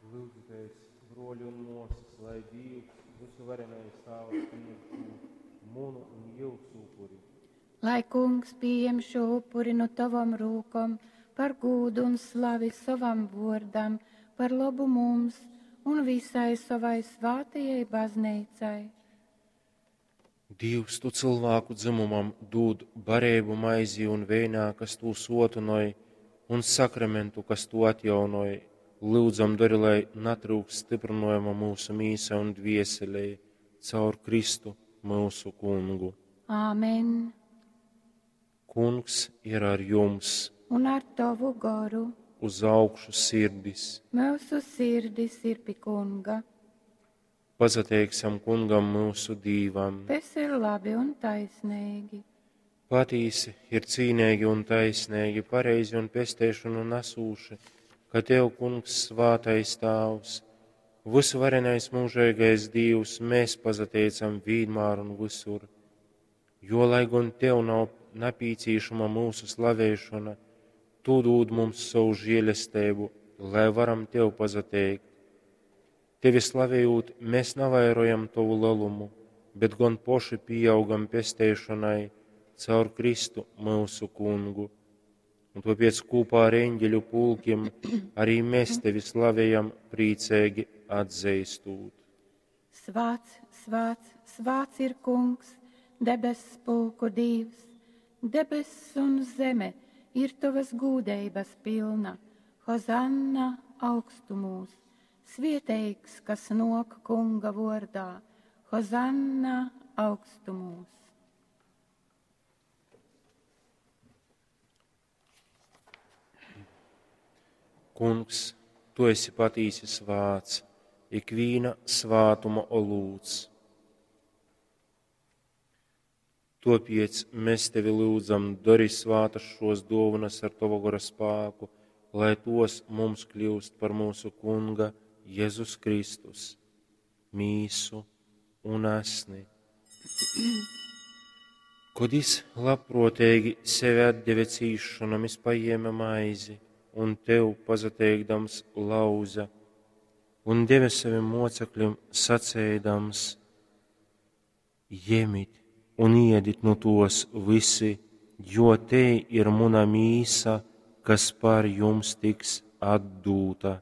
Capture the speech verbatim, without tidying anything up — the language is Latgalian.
Lyudzitēs, bruoļi un muosys, lai Dīvs, vysuvarenais Tāvs, pījem šū munu un jyusu upuri. Lai Kungs pījem šū upuri nu tovom rūkom par gūdu un slavi sovam vuordam, par lobu mums un visai sovai svātajai bazneicai. Dīvs, tu cylvāku dzymumam dūd bareibu maizī un veinā, kas tū suotynoj, un sakramentu, kas tū atjaunoj. Lyudzam, dori, lai natryukst styprynojuma myusu mīsai un dvieselei caur Kristu, myusu Kungu. Āmen. Kungs ir ar jums. Un ar tovu goru. Uz augšu sirdis. Myusu sirdis ir pi Kunga. Pasateiksim Kungam myusu Dīvam. Tas ir labi un taisnīgi. Patīsi ir cīneigi un taisneigi, pareizi un pesteišonu nesūši, ka Tev, Kungs, svātais Tāvs, vysuvarenais mūžīgais Dīvs, mēs pasateicam vienmēr un visur. Jo, lai gan Tev nav napīcīšama mūsu slavēšana, Tu dūd mums savu žēlestību, lai varam Tev pasateikt. Tevi slavējot, mēs navairojam Tavu lielumu, bet gan poši pieaugam pesteišanai caur Kristu mūsu Kungu. Un tāpēc kopā ar eņģeļu pulkiem arī mēs Tevi slavējam, priecīgi atzīstot. Svāts, svāts, svāts ir Kungs, debess pulku Dievs, debess un zeme ir Tavas gūdeibas pilna. Hozanna augstumūs, svieteigs, kas nok Kunga vordā. Hozanna augstumūs. Kungs, Tu esi patīsi svāts, ikvīna svātuma olūts. Topiec mēs Tevi lūdzam, dari svātas šos dāvanas ar Tava gara spēku, lai tos mums kļūst par mūsu Kunga Jēzus Kristus, mīsu un asni. Kad es labprātīgi sevi atdeve cīšanam, es paņēma maizi un tev pasateikdams lauza un deva saviem mocekļiem sacēdams: Ņemiet un iedit nu tos visi, jo te ir muna mīsa, kas par jums tiks atdūta.